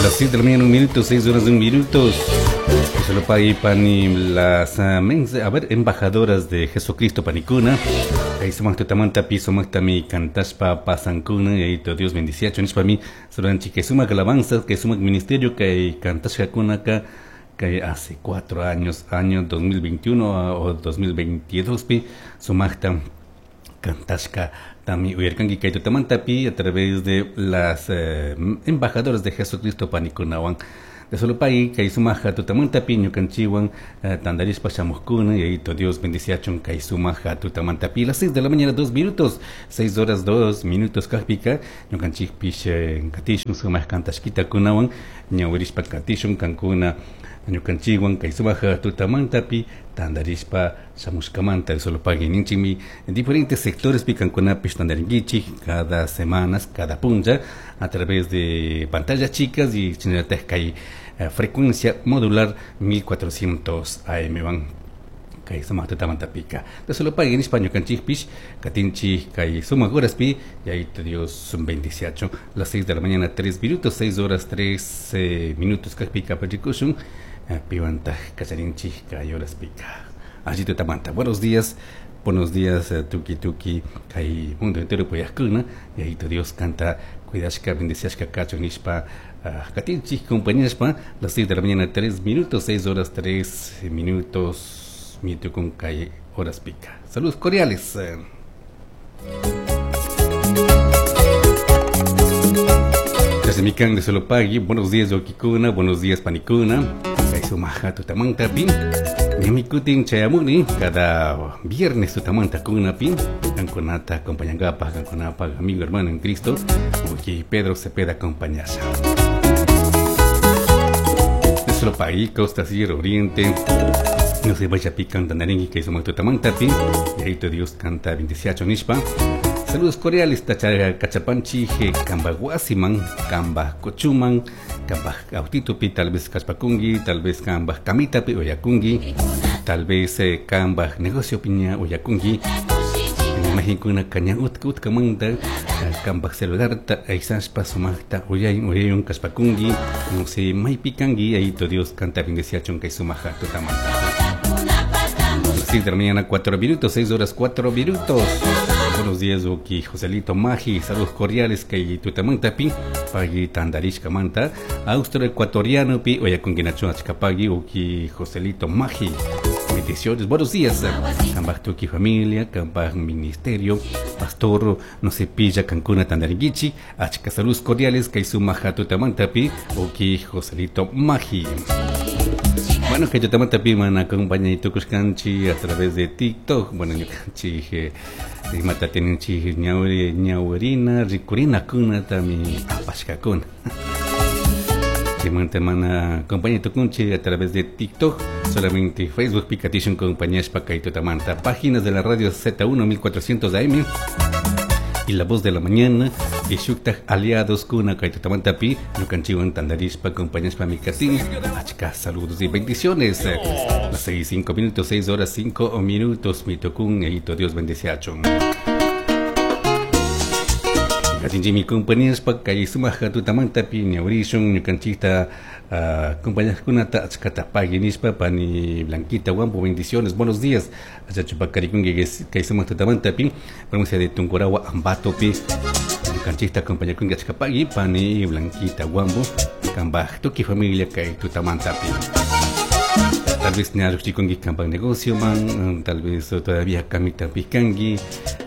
Las 6 de la mañana, un minuto, 6 horas, un minuto. Solo pani las a ver, embajadoras de Jesucristo panicuna. Kay sumaq tutamantapi sumaqtami kantashpa pasankuna Yayito Dios bendiciachu nishpami saludanchik kay sumaq alabanzas kay sumaq ministerio kay kantashkakunaka kay hace 4 años, año 2021 o 2022 pi sumaqta kantashka tami uyarkanki kay tutamantapi a través de las embajadoras de Jesucristo panikunawan. De solo pay kay sumaja tutamantapi ñukanchiwan tandarishpa shamuqkuna. Yayito Dios bendiciachun kay sumaja tutamantapi. Las 6 de la mañana 2 minutos, 6 horas 2 minutos kajpika ñukanchikpish katishun sumaq kantashkitakunawan ñawirishpa katishun kankuna ñukanchikwan kay sumaja tutamantapi tandarishpa shamushkamanta. Solo pagui ninchikmi en diferentes sectores pi kankunapish tandarinkichik cada semanas, cada punlla a través de pantallas chicas y shinallatak kay frecuencia modular 1400 AM van kay sumaq tutamantapika. Solo pagui nishpa ñukanchikpish katinchik kay sumaq horaspi. Yayito Dios bendiciacho. Las 6 de la mañana 3 minutos, 6 horas 3 minutos kajpika parikushun piwantaq kacharinchik kay horaspika. Allí tutamanta. Buenos días. Buenos días, tuki tuki, kay mundo entero puyajkuna, Yayito Dios kanta cuidashka, bendiciashka kachun nishpa katinchik compañashpa. Las 6 de la mañana 3 minutos, 6 horas 3 minutos, mitukun kay horaspika. Saludos cordiales. Desde Mikan de Solopagui, buenos días wawkikuna, buenos días panikuna, kay sumaja tutamantapi. Ñamikutin chayamuni cada viernes tutamanta kunapi, kankunata acompañangapaj, kankunapaj amigo hermano en Cristo, wawki Pedro Cepeda acompañasha. De Solopagui, Costa Sierra Oriente, no se vaya pican tanaringi kay sumaq tutamantapi, Yayito Dios kanta bendiciacho nishpa. Saludos cordiales, tacha kachapanchi, kamba wasiman, kamba kochuman, kamba autitupi, tal vez kashpakungi, tal vez kamba kamitapi uyakungi, tal vez kamba negocio piña uyakungi. Imaginkuna kaña utka utkamanta kamba celularta aysashpa sumaqta uyay uyayun kashpakungi, no sé maypi kangi, Yayito Dios kanta bendiciachun kay sumaja tutamanta. Las 6 de la mañana 4 minutos, 6 horas 4 minutos. Buenos días, wawki Joselito Maji, saludos cordiales kay tutamantapi, pagui tandarishkamanta, austro ecuatoriano pi, uyakunkinachu achkapagui, wawki Joselito Maji. Bendiciones, buenos días. Kambaj tuki familia, kambaj ministerio, pastor, no se pilla kankuna tandaringichi, achka saludos cordiales kay sumaja tutamantapi, wawki Joselito Maji. Bueno, kay tutamantapi mana acompaña tukushkanchi a través de TikTok. Bueno, ñukanchik imata tininchik ñawri ñawrina rikurina kunatami apashkakuna. Chaymanta mana acompaña tukunchik a través de TikTok, solamente Facebook pikatishun acompañashpa kay tutamanta. Páginas de la radio Z1 1400 AM y La Voz de la Mañana y shuktaj aliados kuna kay tutamantapi ñukanchikwan tandarishpa acompañashpa mikatin. Achka saludos y bendiciones. Las 6, 5 minutos, 6 horas 5 minutos, mitukun, Yayito Dios bendiciachun. Katinchimi compañíaspa kay sumaja tutamantapi ñawrishun ñukanchikta compañaskunata achkata pagui nishpa pani Blanquita Guampo, bendiciones, buenos días. Achachupakarikunki kay sumaq tutamantapi provincia de Tungurahua Ambatopi ñukanchikta acompañakunki achka pagui pani Blanquita Guambo kambaj tuki familia kay tutamantapi. Tal vez ña lluqchikunki kambaj negocio man, tal vez todavía kamitapi kanki,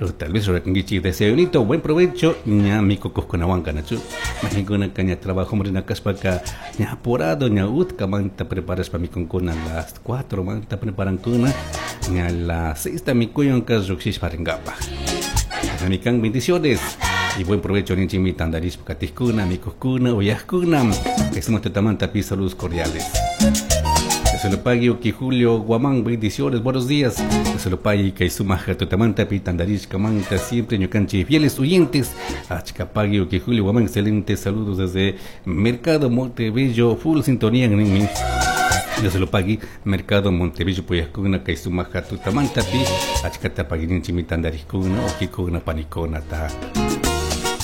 o tal vez rurakunkichik desayunito, buen provecho, ña mikukuqkunawan kanachu. Majinkuna ña trabajo rina kashpaka ña apurado, ña utkamanta preparashpa mikunkuna las 4 manta preparankuna, ña las 6 ta mikuyunka lluqshishpa rinkapaj. Amikan bendiciones y buen provecho ninchikmi tandarishpa katijkuna, mikuqkuna, uyajkuna. Kay sumaq tutamantapi saludos cordiales. Se lo pague wawki Julio Guamán, bendiciones, buenos días. Se lo pague kay sumaja tutamanta pi tandarishkamanta, siempre ñukanchik fieles oyentes. Achkapagui wawki Julio Guamán, excelentes saludos desde Mercado Montebello, full sintonía en mi. Yo se lo pague Mercado Montebello puyajkuna kay sumaja tutamanta pi achkata paguininchikmi tandarishkuna wawkikuna panikuna ta.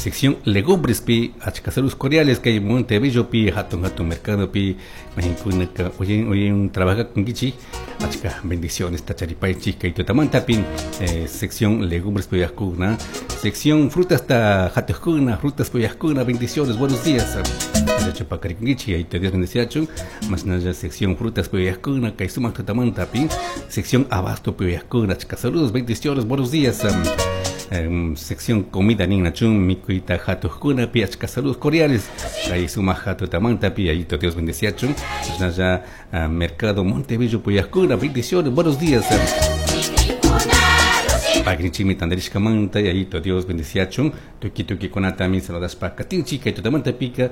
Sección legumbres pi, achka saludos cordiales kay Montebello pi, hatun hatun mercado pi, mahinkunaka oyen oyen trabaja con kichi, achka bendiciones tacharipaychik kay tutamanta pi, sección legumbres puyajkuna, sección frutas ta hatuskuna, frutas puyajkuna, bendiciones, buenos días. Chapakarikunkichi, ahí te Dios bendeciachun, más nada sección frutas puyajkuna, kay sumaq tutamanta pi, sección abasto puyajkuna, achka saludos, bendiciones, buenos días. Sección comida ninachun mikuita hatuskuna pi, achka saludos cordiales, kay sumaq hatutamanta pi, ahí te Dios bendeciachun, más nada mercado Montebello puyajkuna, bendiciones, buenos días. Pagrinchimi tandarishkamanta, yayito Dios bendeciachun, tuki tuki kunatami saludashpa katinchi, kay tutamanta pika.